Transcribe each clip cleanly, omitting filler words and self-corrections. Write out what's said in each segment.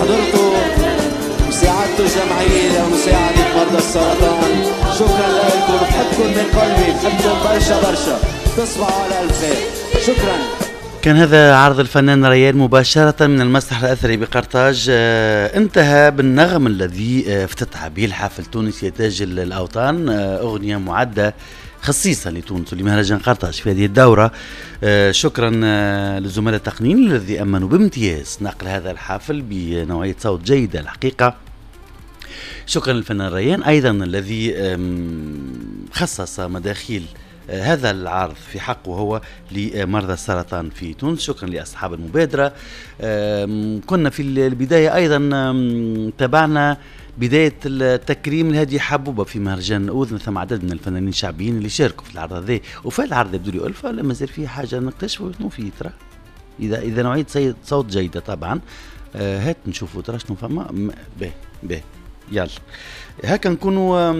حضرتوا وساعدتوا الجمعية لمساعدة مرضى السرطان. شكرا لكم، بحبكم من قلبي، بحبكم برشا برشا. تصبحوا على ألف خير. شكرا. كان هذا عرض الفنان ريان مباشرة من المسرح الأثري بقرطاج، انتهى بالنغم الذي افتتح به الحفل تونس يا تاج الأوطان، أغنية معدة خصيصا لتونس ولمهرجان قرطاج في هذه الدورة. شكرا للزملاء التقنيين الذي أمنوا بامتياز نقل هذا الحفل بنوعية صوت جيدة الحقيقة. شكرا للفنان ريان أيضا الذي خصص مداخيل هذا العرض في حقه هو لمرضى السرطان في تونس. شكرا لأصحاب المبادرة. كنا في البداية أيضا تابعنا بداية التكريم لهادي حبوبة في مهرجان أوذن، ثم عدد من الفنانين الشعبيين اللي شاركوا في العرض هذا. وفي العرض يبدو لي ألفة ولا مازال فيه حاجة نكتشفوا شنو فيه ترى، إذا نوعية صوت جيدة طبعا. هات نشوفوا ترى شنو فما. به به يلا هكا نكونوا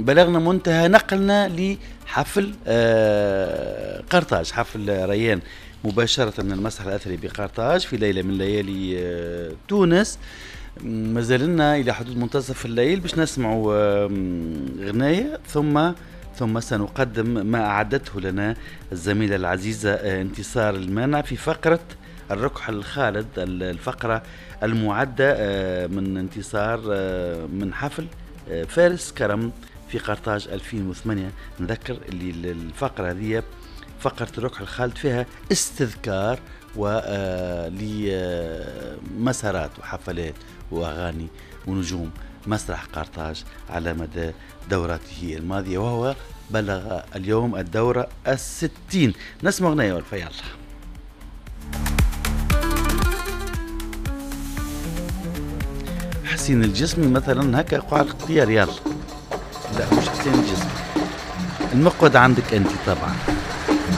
بلغنا منتهى نقلنا لحفل قرطاج، حفل ريان مباشرة من المسرح الأثري بقرطاج في ليلة من ليالي تونس. ما زلنا إلى حدود منتصف الليل باش نسمعوا غناية، ثم سنقدم ما أعدته لنا الزميلة العزيزة انتصار المانع في فقرة الركح الخالد، الفقرة المعدة من انتصار من حفل فارس كرم في قرطاج 2008. نذكر اللي الفقرة هذه فقرة الركح الخالد فيها استذكار ولمسارات وحفلات وأغاني ونجوم مسرح قرطاج على مدى دوراته الماضية، وهو بلغ اليوم الدورة 60. نسمع أغنية والفا يلا. حسين الجسمي مثلا هكا قاع الاختيار، يلا. لا مش حسين الجسمي، المقود عندك انت طبعا.